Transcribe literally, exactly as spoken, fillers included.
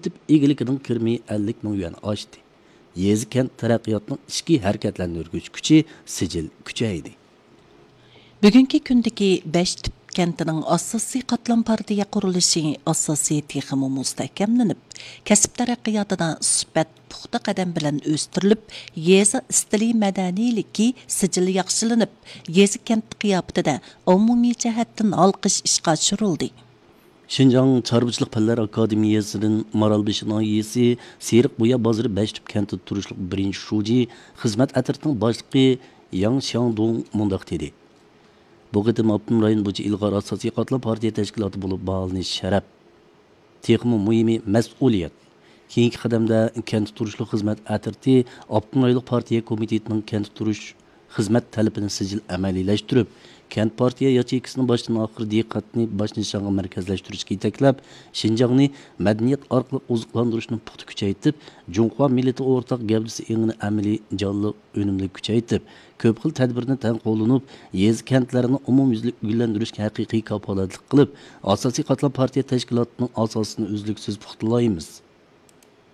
تىپ ئىگىلىكىنىڭ كىرىمى ئەللىك مىڭ يۈەن ئاشتى. يېزا، كەنت تەرەققىياتنىڭ ئىچكى ھەرىكەتلەندۈرگۈچ كۈچى سىجىل كۈچەيدى. بۈگۈنكى كۈندىكى بەش تۈپ كەنتىنىڭ ئاساسىي قاتلام پارتىيە قۇرۇلۇشى ئاساسى تېخىمۇ مۇستەھكەملىنىپ، كەسىپ تەرەققىياتىدا سۈپەت پۇختا قەدەم بىلەن ئۆستۈرۈلۈپ، يېزا ئىستىلى مەدەنىيلىكى سىجىل ياخشىلىنىپ، يېزا، كەنت قىياپىتىدە ئومۇمىي جەھەتتىن ھالقىش ئىشقا ئاشۇرۇلدى. شىنجاڭ چارۋىچىلىق پەنلەر ئاكادېمىيەسىدىن مارالبېشى ناھىيەسى سېرىق بۇيا بازىرى بەش تۈپ كەنتىدە تۇرۇشلۇق بىرىنچى شۇجى خىزمەت ئەترىتىنىڭ باشلىقى ياڭ شياڭدۇڭ مۇنداق دېدى: بۇ قېتىم ئاپتونوم رايون بويىچە ئىلغار ئاساسىي قاتلام پارتىيە تەشكىلاتى بولۇپ باھالىنىش شەرەپ. تېخىمۇ مۇھىمى، مەسئۇلىيەت. كېيىنكى قەدەمدە كەنتتە تۇرۇشلۇق خىزمەت ئەترىتى ئاپتونوم رايونلۇق پارتىيە كومىتېتىنىڭ كەنتتە تۇرۇش خىزمەت تەلىپىنى سىجىل ئەمەلىيلەشتۈرۈپ، كەنت پارتىيە ياچېيكىسىنىڭ باشتىن ئاخىر دىققەتنى باش نىشانغا مەركەزلەشتۈرۈشكە يېتەكلەپ، شىنجاڭنى مەدەنىيەت ئارقىلىق ئوزۇقلاندۇرۇشنى پۇختا كۈچەيتىپ، جۇڭخۇا مىللىتى ئورتاق گەۋدىسى ئېڭىنى ئەمەلىي جانلىق، ئۈنۈملۈك كۈچەيتىپ، كۆپ خىل تەدبىرنى تەڭ قوللىنىپ، يېزا، كەنتلەرنى ئومۇميۈزلۈك گۈللەندۈرۈشكە ھەقىقىي كاپالەتلىك قىلىپ، ئاساسىي قاتلام پارتىيە تەشكىلاتىنىڭ ئاساسىنى ئۈزلۈكسىز پۇختىلايمىز.